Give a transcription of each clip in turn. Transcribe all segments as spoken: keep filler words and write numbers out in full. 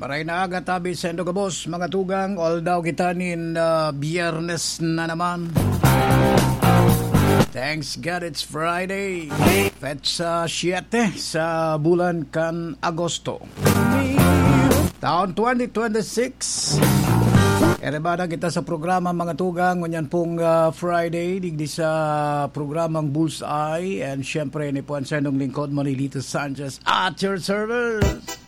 Maray na aga tabi saindo gabos, mga tugang, although kita nin, ah, Biyernes na naman. Thanks God it's Friday. Petsa siyete sa bulan kan Agosto. Taon twenty twenty-six. Erebada kita sa programa, mga tugang, ngunyan pong, ah, Friday, digdi sa programang Bullseye. And syempre, ni po an saindong lingkod, Manilito Sanchez, at your service.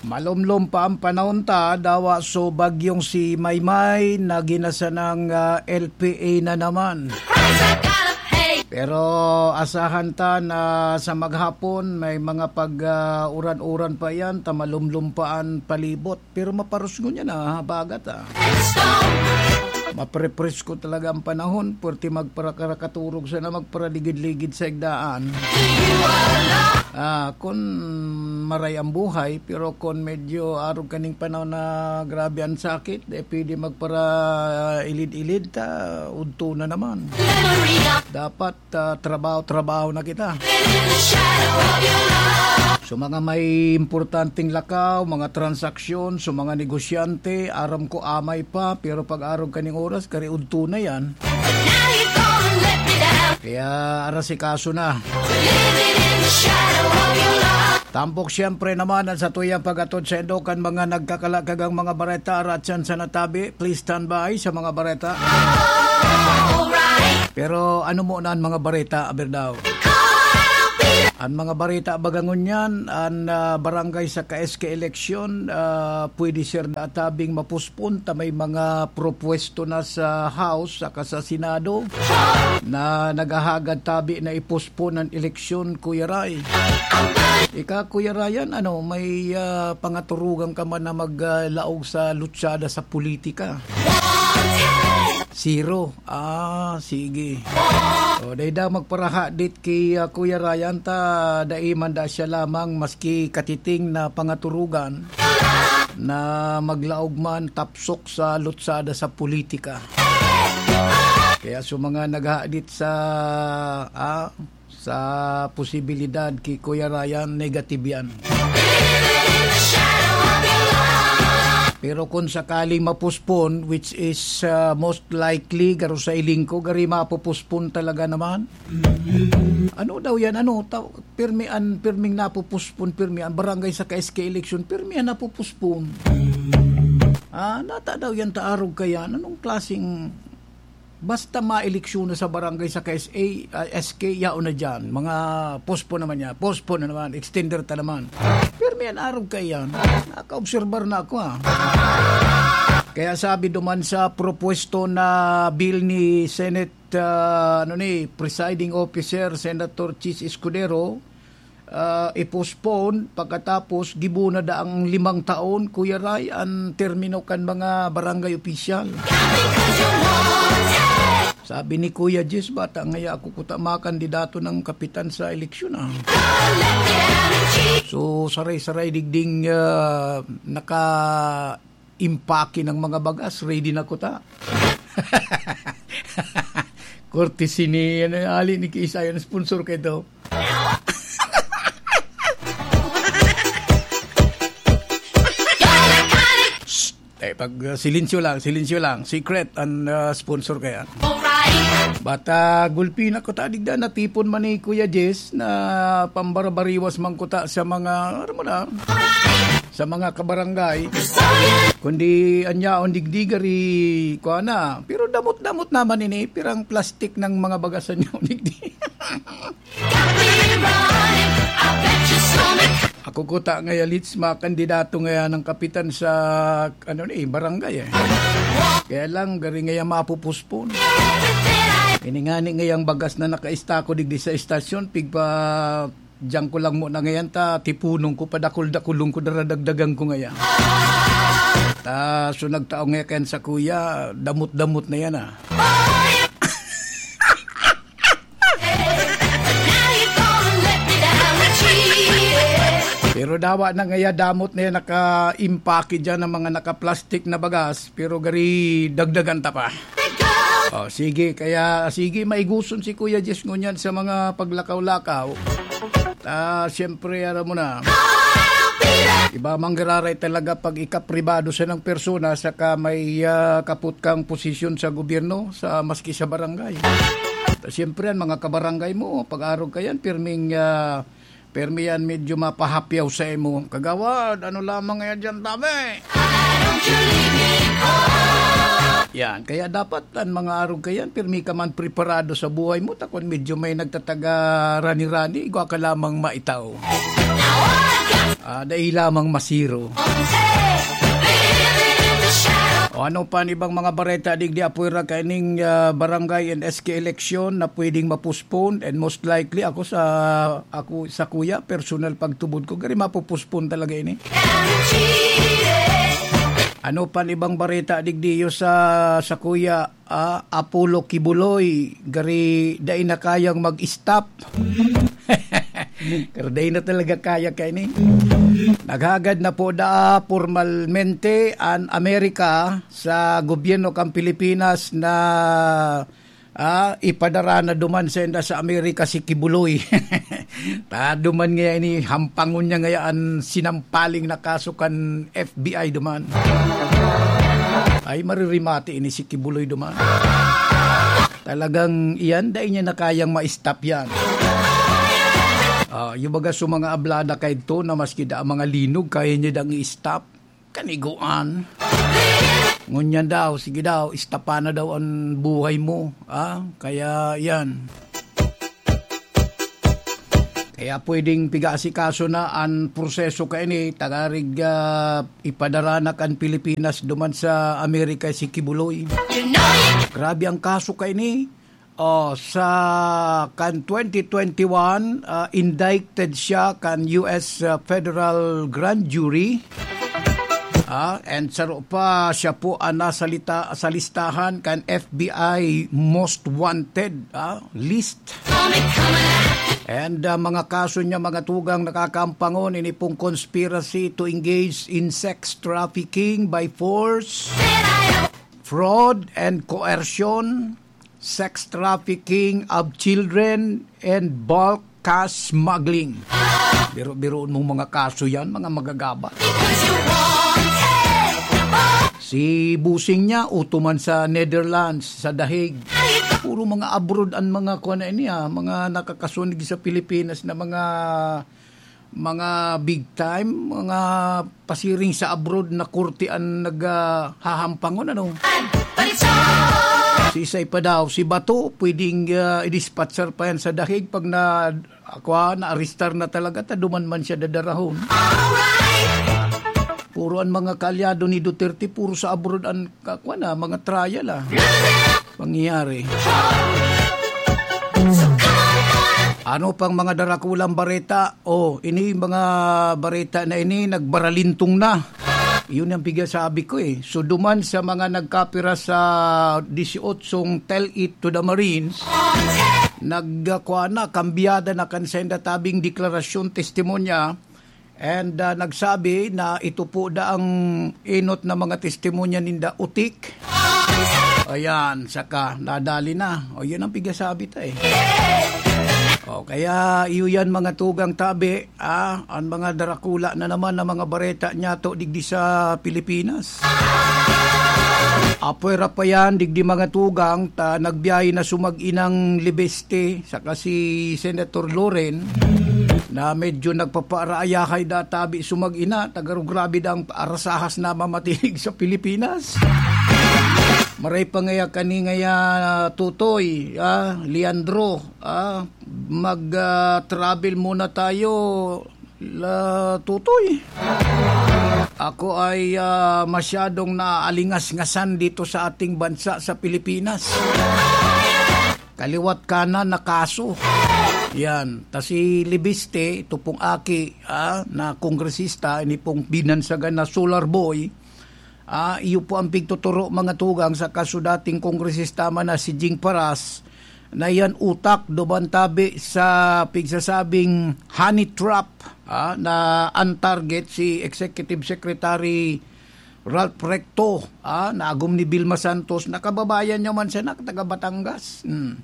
Malumlom pa ang panahon ta, dawa so bagyong si Maymay na ginasanang, ah, L P A na naman. Pero asahan ta na sa maghapon may mga pag, ah, uran-uran pa yan, ta malumlom pa an palibot. Pero maparusngon yan, ah, habagat, ah. Maprepresko talaga ang panahon, pwerte magparakaraturog sana, magparaligid-ligid sa igdaan. Ah, kun maray ang buhay, pero kun medyo arog kaning panahon na grabe ang sakit, eh, pwede magparailid-ilid ta, udto na naman. Dapat, ah, trabaho-trabaho na kita. So, mga may importanteng lakaw, mga transaksyon, so, mga negosyante, aram ko amay pa, pero pag arog kaning oras, kari udto na yan. Kaya arasikaso na. Tampok siyempre naman ang satuyang pag-atod saindo kan mga nagkakalakagang mga bareta, aratyan sa natabi. Please stand by sa mga bareta. Pero ano mo na ang mga bareta, aber daw? Ang mga bareta baga ngunyan, ang, ah, barangay saka S K eleksyon, ah, pwede sir na tabing mapospon ta may mga propwesto na sa House saka sa Senado na naghahagad tabi na ipospon ang eleksyon, Kuya Ray. Ika, Kuya Ryan, ano, may, ah, pangaturugan ka man na mag, ah, laog sa lutsada sa politika? Zero. Ah, sige. O, dai daw magparahadit ki, ah, Kuya Ryan ta dai man da siya lamang maski katiting na pangaturugan na maglaog man tapsok sa lutsada sa politika. Kaya sa mga naghahadit sa, ah, sa posibilidad ki Kuya Ryan, negative yan. Pero kung sakaling mapospon, which is, ah, most likely, garo sa hiling ko, gari mapopospon talaga naman. Ano daw yan? Ano? Ta-, pirmi an, pirming napopospon, pirmi an barangay saka S K election, pirmi an napopospon. Ah, nata daw yan taarog kaya? Anong klaseng Basta maeleksyon na sa barangay saka S A, ah, S K, yaon na dyan. Mga postpone naman niya. Postpone na naman. Extender ta naman. Pero may anarog kaiyan. Nakaobserbar na ako, ah. Kaya sabi duman sa propuesto na bill ni Senate, ah, ano ni, Presiding Officer, Senator Chiz Escudero, ah, i-postpone pagkatapos gibo na daang limang taon, Kuya Ray, an termino kan mga barangay opisyal. Sabi ni Kuya Jess, bata ngaya ako kuta makandidato ng kapitan sa eleksyon, ah. So, saray-saray digding, ah, naka impake ng mga bagas, ready na kuta. Courtesy ni, ano, ali ni Kiisay, ang sponsor ko ito. Shh! Eh, pag, uh, silensyo lang, silensyo lang. Secret ang, uh, sponsor kaya. Bata gulpi na kuta, digda natipon man ni Kuya Jess na pambarabariwas man kuta sa mga, ano mo na, sa mga kabarangay. Kundi anyaon digdi gari, kuha na. Pero damot-damot naman ini, pirang plastic ng mga bagasan niya digdi. Ako kuta ngaya, Litz, makandidato ngaya ng kapitan sa, ano ni, barangay, eh. Kaya lang, gari ngaya mapupuspon. Ini nga ni ngayang bagas na nakaistako digdi sa estasyon, pigpa Diyan ko lang muna ngayon ta, tipunon ko, padakul-dakulon ko, daradagdagan ko ngayon. Ta, so nagtao ngayon kayan sa kuya, damot-damot na yan, ah. Pero dawa na ngaya damot na yan, naka-impake dyan ng mga naka-plastic na bagas, pero gari dagdagan ta pa. Oh, sige, kaya sige, maiguson si Kuya Jess ngunyan sa mga paglakaw-lakaw. Ah, siyempre, alam mo na. Iba mang giraray talaga pag ikapribado sa ng persona saka may, ah, kaput kang posisyon sa gobyerno, sa, maski sa barangay. Siyempre, ang mga kabarangay mo, pag-arog ka yan, pirming, ah, pirmi yan medyo mapahapyaw sa imo. Kagawad, ano lamang yan dyan, tabi? Yan, kaya dapat an mga arog kayan, pirmi ka man preparado sa buhay mo, ta kun medyo may nagtataga rani-rani, igwa ka lamang maitaw. Ah, dai lamang masiro. O ano pa an ibang mga bareta digdi, apoy ra kaining, ah, barangay and S K election na pwedeng ma-postpone, and most likely ako sa, ako sa kuya, personal pagtubod ko, gari mapo-postpone talaga ini. Ano pan ibang bareta digdiyo sa, sa kuya, ah, Apollo Kibuloy, gari dai na kayang mag-stop. Pero dai na talaga kaya kaini. Naghagad na po da pormalmente an Amerika sa gobyerno kan Pilipinas na ah, ipadara na duman sainda sa Amerika si Kibuloy. Ta duman ngaya ini, hampangon niya ngaya an sinampaling na kaso kan F B I duman. Ay, maririmati ini si Kibuloy duman. Talagang iyan, dai niya na kayang ma-stop yan. Ah, yung baga sa mga ablada kaidto na maski da ang mga linog, kaya niya dang i-stop. Kaniguan. Ngunyan daw, sige daw, istapa na daw an buhay mo, ah, kaya yan. Kaya pwedeng piga-asikaso na an proseso kaini, tagarig, ah, ipadara na kan Pilipinas duman sa Amerika si Kibuloy. Grabe ang kaso kaini. Oh, sa kan twenty twenty-one, ah, indicted siya kan U S, ah, federal grand jury. Ah, and saro pa, siya po ang nasa lita-, sa listahan kan F B I most wanted, ah, list. And, ah, mga kaso niya, mga tugang, nakakaampangon, ini pong conspiracy to engage in sex trafficking by force, fraud and coercion, sex trafficking of children, and bulk cash smuggling. Biro-biroon mong mga kaso yan, mga magagaba. Si busing niya, uto man sa Netherlands, sa The Hague. Puro mga abroad ang mga kuwan na ini, ah, mga nakakasunig sa Pilipinas na mga, mga big time, mga pasiring sa abroad na korte ang naghahampangon, ano? Si Isay pa daw, si Bato, pwedeng, ah, i-dispatcher pa yan sa The Hague pag na, ako, ah, na-arrestar na talaga, ta duman man siya dadarahon. Puro ang mga kaalyado ni Duterte, puro sa abroad ang, ka-, kuwan na, mga trial, ah. Pangyayari. Ano pang mga darakulang bareta? Oh, ini mga bareta na ini, nagbaralintong na. Yun ang pigasabi ko, eh. So, duman sa mga nagkapira sa disyotsyong Tell It to the Marines, nagkakwa na, kambyada na kan senda tabing deklarasyon, testimonya, and, ah, nagsabi na ito po daang enot na mga testimonya ninda utik. Ayan, saka nadali na. O, yun ang pigasabi ta, eh. O, kaya iyo yan, mga tugang tabi, ah, ang mga darakula na naman na mga bareta niyato digdi sa Pilipinas. Apwera pa yan, digdi mga tugang, ta nagbiyahe na sumag-inang Libeste, saka si Senator Loren, na medyo nagpapaaraayahay da tabi sumag-ina, tagaro grabe da ang arasahas na mamatinig sa Pilipinas. Maray pa ngaya kani ngaya, Tutoy, ah, Leandro, ah, mag, ah, travel muna tayo, la Tutoy. Ako ay, ah, masyadong naalingas-ngasan dito sa ating bansa, sa Pilipinas. Kaliwat kanan na kaso. Yan. Ta si Libiste, ito pong aki, ah, na kongresista, ini pong binansagan na solar boy, ah, iyo po ang pigtuturo, mga tugang, sa kaso dating kongresista man na si Jing Paras, na yan utak duman tabi sa pigsasabing honey trap, ah, na ang target si Executive Secretary Ralph Recto, ah, na agom ni Vilma Santos, na kababayan niya man siya, na taga Batangas. Hmm.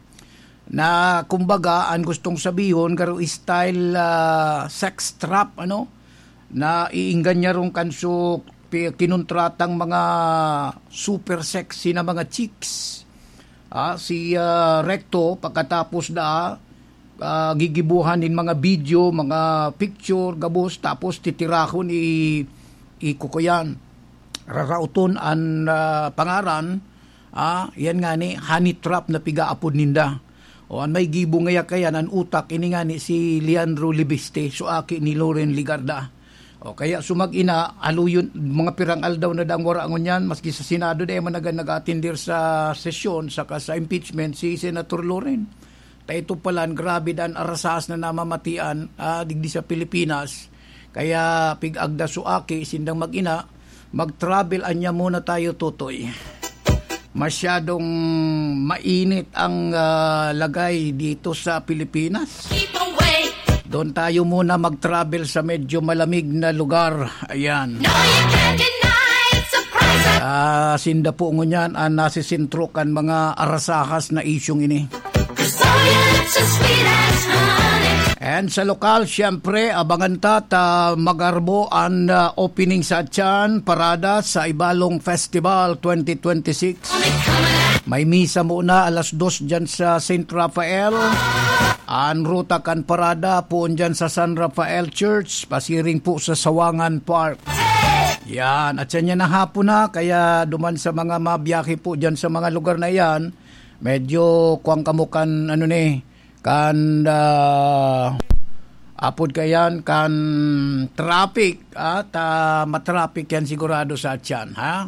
Na kumbaga, ang gustong sabihon, garo style, ah, sex trap, ano? Na iingganyarong kanso pi-, kinuntratang mga super sexy na mga chicks. Ah, si, ah, Recto, pagkatapos na, ah, gigibuhan nin mga video, mga picture, gabos, tapos titirahon i-, ikukuyan. Rarauton an, ah, pangaran, ah, yan nga ni honey trap na pigaapod ninda. O, an may gibo ngaya kayan, an utak, ini nga ni si Leandro Libiste, so aki ni Loren Ligarda. O, kaya sumag-ina, aluyon, mga pirang aldaw na dang wara ngunyan, maski sa Senado, dai man nagan nag-atindir sa sesyon, saka sa impeachment, si Senator Loren. Ta ito palan, grabe dan arasas na namamatian, ah, digdi sa Pilipinas. Kaya pig-agda so aki, sindang mag-ina, mag-travel anya muna tayo, Totoy. Masyadong mainit ang, ah, lagay dito sa Pilipinas. Keep away. Doon tayo muna mag-travel sa medyo malamig na lugar. Ayan. No, you can't deny it. Surprise. Ah, sinda po ngunyan ang nasisentro kan mga arasahas na isyong ini. Cause all your lips are sweet as honey. And sa lokal, siyempre, abangan ta ta magarbo an, ah, opening sa Atyan Parada sa Ibalong Festival twenty twenty-six. May misa muna alas dos dyan sa Saint Raphael. An ruta kan parada poon dyan sa San Rafael Church, pasiring po sa Sawangan Park. Yan, at yan na hapon na, kaya duman sa mga mabiyahe po dyan sa mga lugar na yan, medyo kuwang kamo kan, ano ni, kan, ah, apod kayan, kan traffic, ah, ta matraffic yan sigurado sa Atyan, ha?